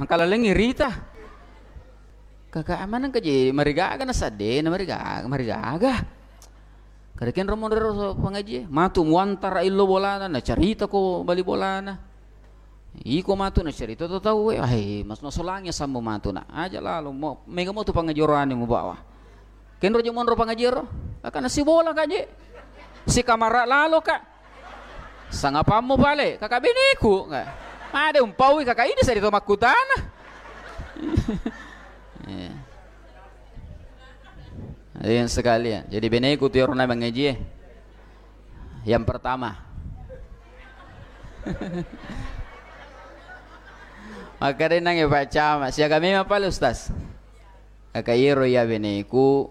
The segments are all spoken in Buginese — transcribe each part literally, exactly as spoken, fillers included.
Mangkalalengngi rita. Kaka maneng kaji marigaga na sadde na marigaga, marigaga. Kada kenro monro ro pangaji, matu muantara illo bolana, na carita ko bali bolana. Iko matu na carita to tau, eh, ai, mas masolangi sambo matu na. Aja lalo, mo, mega mo tu pangaji orani mubawa. Kenro je monro pangaji ro, kaka na sibola kaji. Si kamara lalo ka. Sangapammu pale, kaka beneku. Made umpaui kaka ini sadi to makkutana. Eh. Hadirin sekalian, jadi beneku tu iyaro na mangaji, eh. Yang pertama. Maka denang ya Pak Camat, siaga memang pale Ustaz. Kaka iyaro iya beneku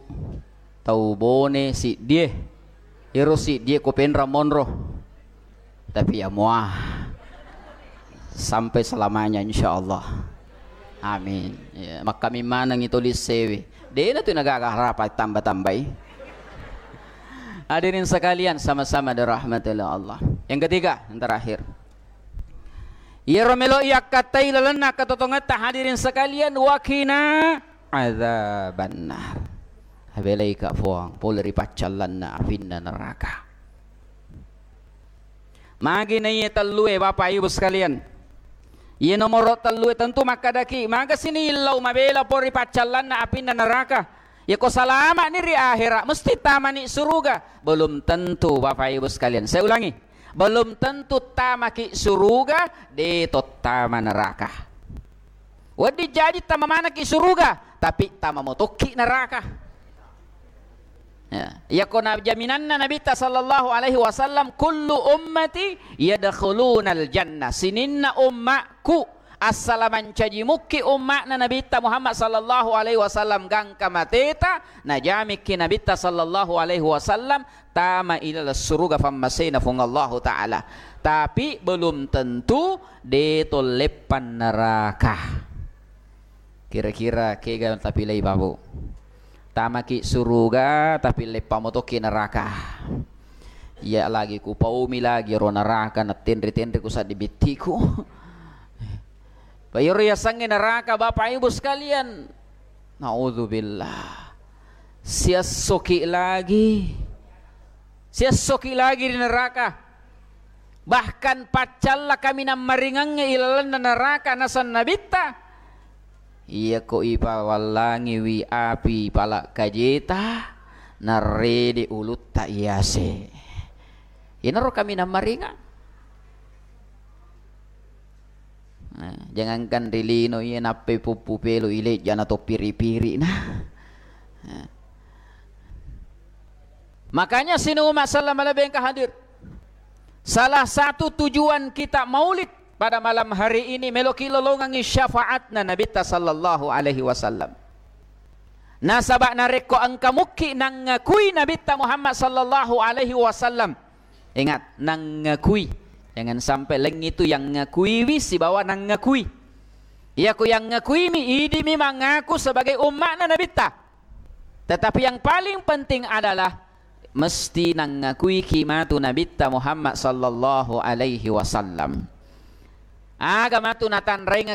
tau Bone siddie. Iyaro siddie ko penra monro. Tapi ya mua sampai selamanya insyaallah. Amin. Ya, makkami maneng itu lisewi. Dena tu nagaga harapa tambah-tambahi. Hadirin sekalian sama-sama dirahmati oleh Allah. Yang ketiga, yang terakhir. Iyaro melo iyakkattai lalenna katotongetta hadirin sekalian, wakina azabannar. Abelaika Puang pole ri paccallanna apinna neraka. Magi na iye tellue, Bapak Ibu sekalian? Iye nomoro tellue tentu makkadaki, maga sini illau mabela pole ri paccallanna apinna neraka. Yako salama'ni ri akhera, mesti tamani suruga. Belum tentu, Bapak Ibu sekalian. Saya ulangi, belum tentu tamaki suruga, de tottama neraka. Wedding jaji tama manaki suruga, tapi tama motokki neraka. Ya. Yako na jaminanna Nabitta sallallahu alaihi wasallam, "Kullu ummati yadkhulunal jannah." Sininna ummaku, assala mancaji mukki umma'na Nabitta Muhammad sallallahu alaihi wasallam gangka mateta, najamikki Nabitta sallallahu alaihi wasallam tama ilaleng suruga fammasena Fuang Allahu Ta'ala. Tapi belum tentu de tolleppan neraka. Kira-kira kega tapilai, Babu? Tamaki suruga, tapi leppa motokki neraka. Iya lagi kupaumi lagi ro neraka, na tenre-tenre ku saddi bittiku. Pa iyaro yasengnge neraka, Bapak Ibu sekalian. Naudzubillah. Siessoki lagi. Siessoki lagi di neraka. Bahkan paccalla kaminang maringengnge ilalenna neraka, naseng Nabitta, iyako ipawallangiwi api pala kajeta, narrede ulutta iyase. Inaro kaminang maringeng. Nah, jangankan ri lino iya nappai puppu pelo ilejja na to piri-piri na. Nah. Makanya sini umat sallam malebeng ka hadir. Salah satu tujuan kita maulid pada malam hari ini, meloki lolongangi syafaatna Nabitta sallallahu alaihi wasallam. Nasaba narekko engka mukki nangngakui Nabitta Muhammad sallallahu alaihi wasallam, ingat, nangngakui. Jangan sampai laing itu yang ngakuiwi sibawa nangngakui. Iyako yang ngakuimi, idimi mangaku sebagai umma'na Nabitta. Tetapi yang paling penting adalah mesti nangakuiki matu Nabitta Muhammad sallallahu alaihi wasallam. Aga matu natanrainga